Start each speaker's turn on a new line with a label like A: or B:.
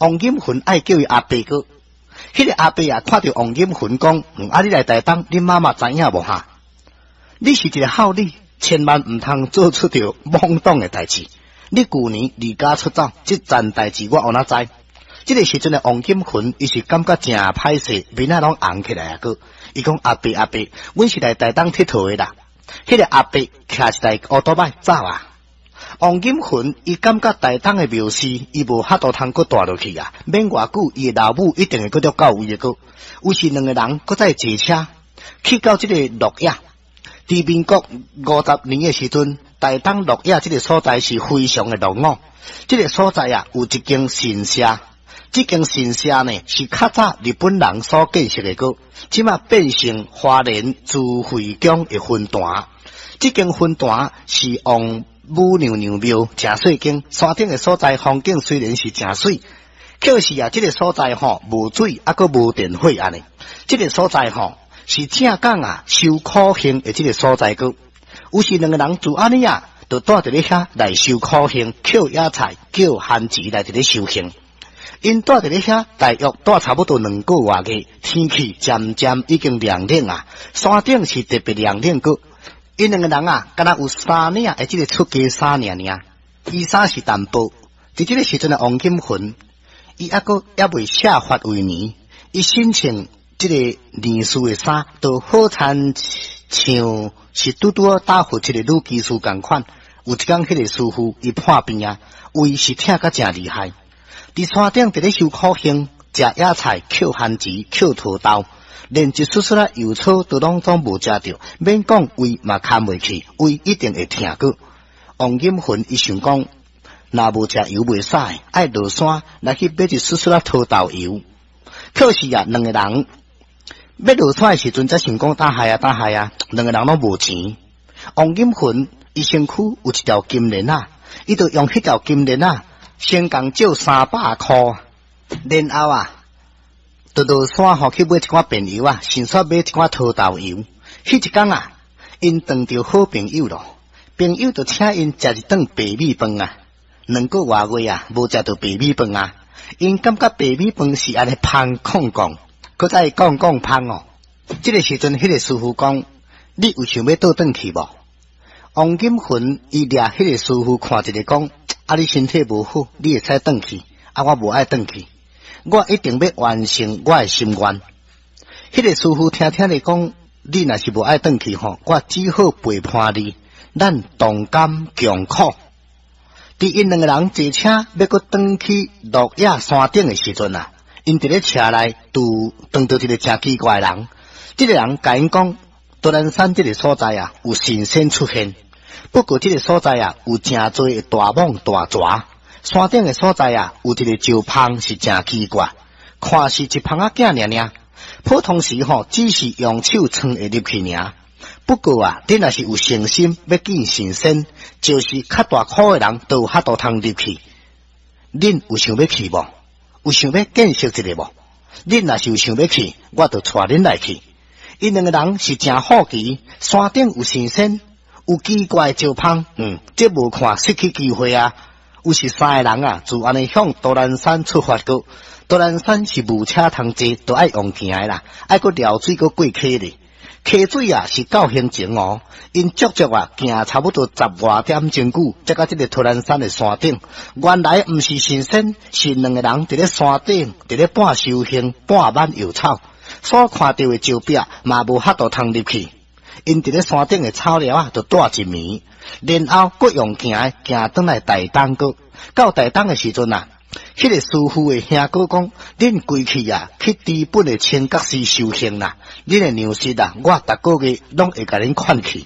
A: 王金雲愛叫伊阿伯閣。彼個阿伯啊，看著王金雲講：啊，你來台東，恁媽媽知影無哈？你是一个孝女，千萬毋通做出著莽動的代誌。你舊年離家出走，這層代誌我有哪知？這个時陣的王金雲，伊是感覺誠歹勢，面仔攏紅起來啊！閣，伊講阿伯阿伯，阮是來台東𨑨迌的啦。彼個阿伯騎一台烏托擺走啊！王金雲伊感覺台東的廟寺，伊無法度通閣蹛落去啊！免偌久，伊的老母一定會閣著到位的閣。於是兩個人閣再坐車去到這個鹿野。佇民國50年的時陣，台東鹿野這个所在是非常的落伍。這个所在啊，有一間神社。這間神社呢，是較早日本人所建設的閣，這馬變成花蓮慈惠宮的分壇。這間分壇是王母娘娘廟，誠細間。山頂的所在風景雖然是誠媠，可是啊，這个所在吼無水，猶閣無電火按呢。這个所在吼是正港啊修苦行的這个所在閣。於是兩个人就按呢啊，就蹛佇咧遐來修苦行，抾野菜、抾番薯來佇咧修行。𪜶蹛佇咧遐，大約蹛差不多2個外月，天氣漸漸已經涼冷啊。山頂是特別涼冷閣。𪜶兩個人啊，敢若有三領的這个出家衫爾爾，衣衫是淡薄。佇這个時陣的王金雲，伊猶閣猶未卸髮為尼，伊身穿這个尼師的衫，都好親像是拄拄仔打發一个女居士仝款。有一工，彼个師父伊破病啊，胃是疼甲誠厲害。佇山頂佇咧修苦行，食野菜、抾番薯、抾土豆，連一絲絲仔油草都攏總無食著，免講胃嘛堪袂去，胃一定會疼閣。王金雲伊想講，若無食油袂使，愛落山來去買一絲絲仔土豆油。可是啊，兩個人欲落山的時陣，才想講打害啊打害啊，兩個人攏無錢。王金雲伊身軀有一條金鏈仔，伊就用彼條金鏈仔。先共借300箍，然後啊，就落山吼去買一寡便油啊，順紲買一寡土豆油。彼一工啊，𪜶碰著好朋友咯，朋友就請𪜶食一頓白米飯啊。2個外月啊，無食著白米飯啊，𪜶感覺白米飯是按呢芳炕炕，閣再講講芳哦。這个時陣，彼个師父講：你有想欲倒轉去無？王金雲伊掠彼个師父看一下講。啊！你身體無好，你會使轉去。啊，我無愛轉去，我一定欲完成我的心願。彼个師父聽聽咧講，你若是無愛轉去吼，我只好陪伴你，咱同甘共苦。佇𪜶兩个人坐車欲閣轉去鹿野山頂的時陣啊，𪜶佇咧車內拄碰著一个誠奇怪的人。這个人共𪜶講，都蘭山這个所在啊，有神仙出現。不過這个所在啊，有誠濟的大蟒大蛇。山頂的所在啊，有一个石縫是誠奇怪，看是一縫仔囝爾爾。普通時吼，只是用手撐會入去爾。不過啊，你若是有誠心欲見神仙，就是較大箍的人都有法度通入去。恁有想欲去無？有想欲見識一下無？恁若是有想欲去，我就帶恁來去。𪜶兩个人是誠好奇，山頂有神仙。有奇怪的石縫，這無看失去機會啊！於是三個人啊，就按呢向都蘭山出發閣。都蘭山是無車通坐，都愛用行的啦，愛閣撩水閣過溪咧。溪水啊是夠興情哦，𪜶足足啊行差不多十外點鐘久，才到這个都蘭山的山頂。原來毋是神仙，是兩个人佇咧山頂，佇咧半修行，半挽藥草，所看著的石壁嘛無法度通入去。𪜶佇咧山頂的草寮仔，就蹛一暝，然後閣用行的行轉來台東閣。到台東的時陣啊，彼个師父的兄哥講：恁規氣啊，去知本的清覺寺修行啦。恁的糧食啊，我逐个月攏會共恁款去。